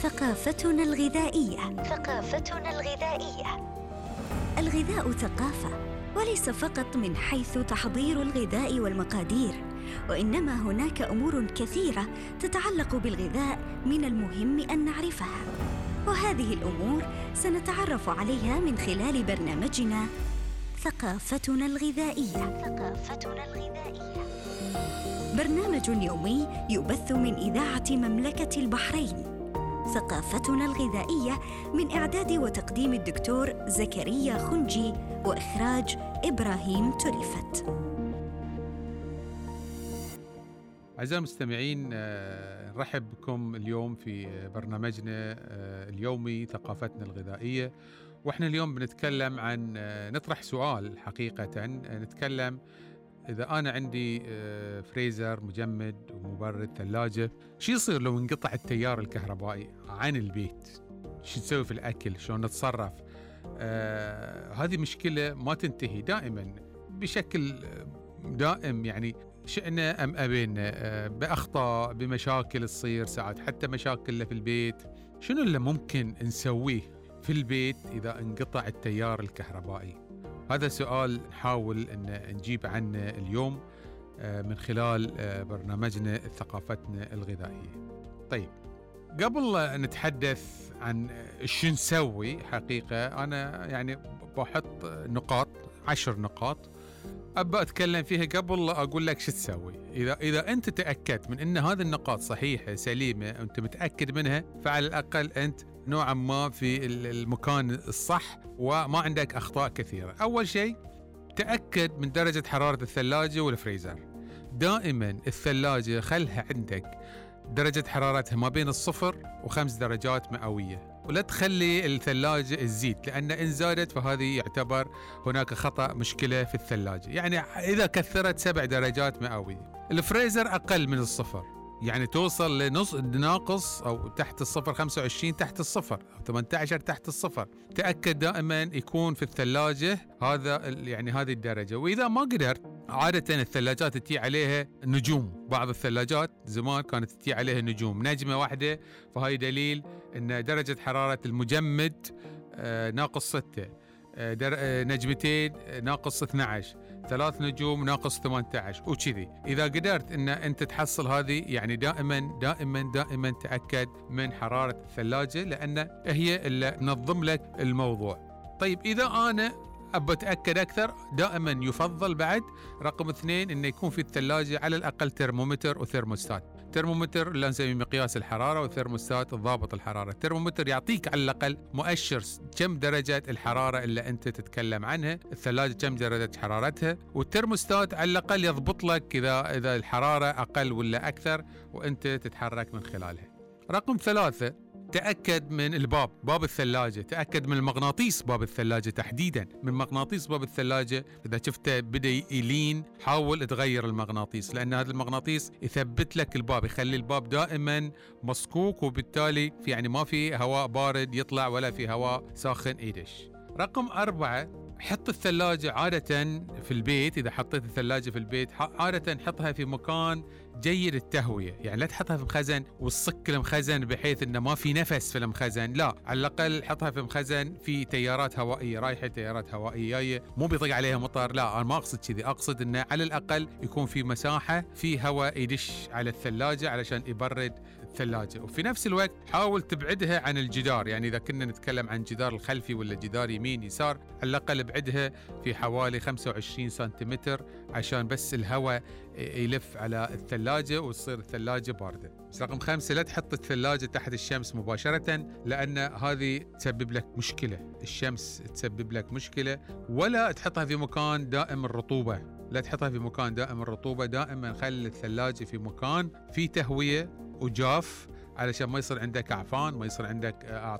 ثقافتنا الغذائية. الغذاء ثقافة، وليس فقط من حيث تحضير الغذاء والمقادير، وإنما هناك أمور كثيرة تتعلق بالغذاء من المهم أن نعرفها، وهذه الأمور سنتعرف عليها من خلال برنامجنا ثقافتنا الغذائية. برنامج يومي يبث من إذاعة مملكة البحرين. ثقافتنا الغذائية من إعداد وتقديم الدكتور زكريا خنجي، وإخراج إبراهيم تلفت. أعزائي المستمعين، نرحب بكم اليوم في برنامجنا اليومي ثقافتنا الغذائية، وإحنا اليوم بنتكلم عن نطرح سؤال حقيقة. نتكلم إذا أنا عندي فريزر مجمد ومبرد ثلاجة، شو يصير لو انقطع التيار الكهربائي عن البيت؟ شو نسوي في الأكل؟ شلون نتصرف؟ هذه مشكلة ما تنتهي دائما بشكل دائم، يعني شئنا أم أبينا، بأخطاء، بمشاكل تصير ساعات، حتى مشاكل في البيت. شنو اللي ممكن نسويه في البيت إذا انقطع التيار الكهربائي؟ هذا سؤال نحاول أن نجيب عنه اليوم من خلال برنامجنا ثقافتنا الغذائية. طيب، قبل نتحدث عن شو نسوي حقيقة، أنا يعني بحط 10 نقاط أبى أتكلم فيها قبل أقول لك شو تسوي. إذا أنت تأكدت من أن هذه النقاط صحيحة سليمة، أنت متأكد منها، فعلى الأقل أنت نوعا ما في المكان الصح وما عندك أخطاء كثيرة. أول شيء، تأكد من درجة حرارة الثلاجة والفريزر. دائما الثلاجة خلها عندك درجة حرارتها ما بين 0 و5 درجات مئوية، ولا تخلي الثلاجة تزيد، لأن إن زادت فهذه يعتبر هناك خطأ، مشكلة في الثلاجة. يعني إذا كثرت 7 درجات مئوية. الفريزر أقل من 0، يعني توصل لنص ناقص أو تحت 0، 25 تحت 0 أو 18 تحت 0. تأكد دائما يكون في الثلاجة يعني هذه الدرجة. وإذا ما قدرت، عادة الثلاجات تتي عليها نجوم. بعض الثلاجات زمان كانت تتي عليها نجمة واحدة، فهاي دليل أن درجة حرارة المجمد ناقص 6، نجمتين ناقص 12، 3 نجوم ناقص 18 وكذي. إذا قدرت أن أنت تحصل هذه، يعني دائما دائما دائما تأكد من حرارة الثلاجة، لأن هي اللي تنظم لك الموضوع. طيب، إذا أنا أبى أتأكد أكثر، دائما يفضل بعد رقم 2 أنه يكون في الثلاجة على الأقل ترمومتر وثيرموستات. ترمومتر اللي نسميه مقياس الحرارة، وثيرموستات ضابط الحرارة. الترمومتر يعطيك على الأقل مؤشر كم درجة الحرارة اللي أنت تتكلم عنها، الثلاجة كم درجة حرارتها، والترموستات على الأقل يضبط لك إذا الحرارة أقل ولا أكثر، وأنت تتحرك من خلالها. رقم 3، تأكد من باب الثلاجة. تأكد من المغناطيس باب الثلاجة تحديدا، من مغناطيس باب الثلاجة. إذا شفته بدأ يلين، حاول تغير المغناطيس، لأن هذا المغناطيس يثبت لك الباب، يخلي الباب دائما مصكوك، وبالتالي يعني ما في هواء بارد يطلع ولا في هواء ساخن يدش. رقم 4، حط الثلاجة عادة في البيت. إذا حطيت الثلاجة في البيت، عادة حطها في مكان جيد التهوية، يعني لا تحطها في مخزن وتصك المخزن بحيث إنه ما في نفس في المخزن، لا، على الأقل حطها في مخزن في تيارات هوائية رايحة، تيارات هوائية جاية، مو بيطق عليها مطر، لا، أنا ما أقصد كذي، أقصد إنه على الأقل يكون في مساحة في هواء يدش على الثلاجة علشان يبرد الثلاجة. وفي نفس الوقت حاول تبعدها عن الجدار، يعني إذا كنا نتكلم عن جدار الخلفي ولا جدار يمين يسار، على الأقل ابعدها في حوالي 25 سنتيمتر عشان بس الهواء يلف على الثلاجة وتصير الثلاجة باردة. بس رقم 5، لا تحط الثلاجة تحت الشمس مباشرة، لأن هذه تسبب لك مشكلة. الشمس تسبب لك مشكلة. ولا تحطها في مكان دائم الرطوبة، لا تحطها في مكان دائم الرطوبة. دائما خلي الثلاجة في مكان فيه تهوية وجاف، علشان ما يصير عندك أعفان، ما يصير عندك